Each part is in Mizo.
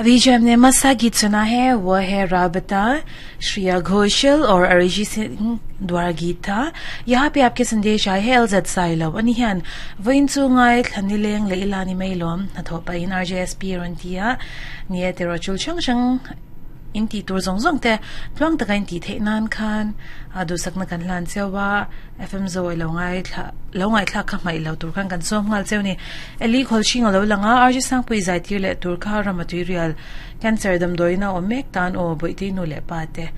अभी जो हमने मस्सा गीत सुना है वो है राबता श्रेया घोषल और अरिजीत सिंह द्वारा गीत था। यहाँ पे आपके संदेश आए हैं एलजेड साइलो अनिहन वइन chu ngai thlani leng le ilani mailom na thopa in RJSP ron tia nie te ro chul chang chang in ti tur zong zong te tluang taka in ti theih nan khan a duhsakna kan hlan cheu a FM zo lo ngai thla lo ngai thla kha hmaih lo tur khan kan sawm nghal cheu ni Eli Khawlhring a lo lang a RG Sangpui zai tir leh tur kha ram a tui rial cancer damdawiin a awm mek tan aw bawihte nu leh pa te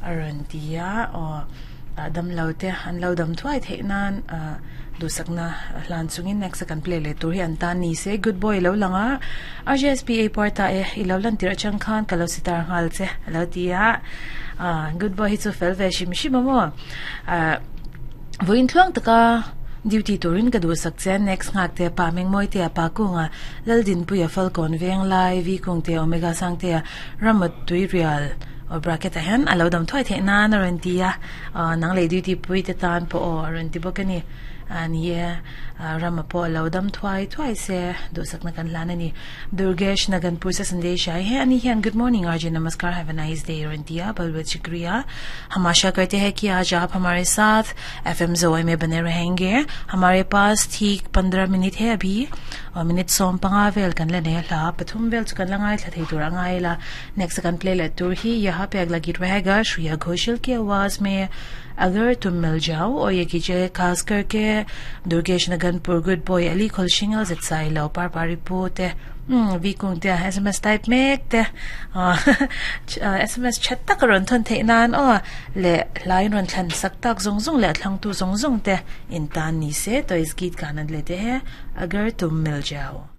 a rawn ti a aw dam lo te an lo dam thuai theih nan ah duhsakna hlan chungin next a kan play leh tur hi an tan ni se good boy a lo lang a RJSPA parta e i lo lan tirh atang khan ka lo sitar nghal che a lo ti a ah good boy hi chu fel ve hrim hrim a maw ah vawiin thluang taka duty turin ka duhsak che next nghak te pa Mengmawi te a pa kunga Laldinpuia Falkawn Venglai V kung te Omega Sangtea Ramawt Tuirial aw bracket ah hian a lo dam thuai theih nan a rawn ti a ah nang leh duty pui te tan pawh aw a rawn ti bawk a ni ah ni e ah rama pawh a lo dam thuai thuai se duhsakna kan hlan a ni Durgesh Naganpur se sandesh ai he ani hian good morning R J namaskar have a nice day a rawn ti a bahut bahut shukriya hum asha karte hai ki aaj aap hamare saath F M Zoe mein bane rahenge hamare paas theek pandrah minute hai abhi aw minute sawm panga vel kan la nei a hla pathum vel chu kan la ngaithla thei tur a ngai la Next kan play leh tur hi yaha pe agla geet rahega Shreya Ghoshal ki awaaz mein Agar Tum Mil Jao aur ye geet khaas karke Durgesh Naganpur good boy Ali Kholshingal zet sai lo par pari pu te vi kung te SMS type mek te SMS chat tak rawn thawn theih nan aw leh hlai rawn thlan sak tak zawng zawng leh a thlangtu zawng zawng te in tan ni se toys geet kan an le te he Agar Tum Mil Jao.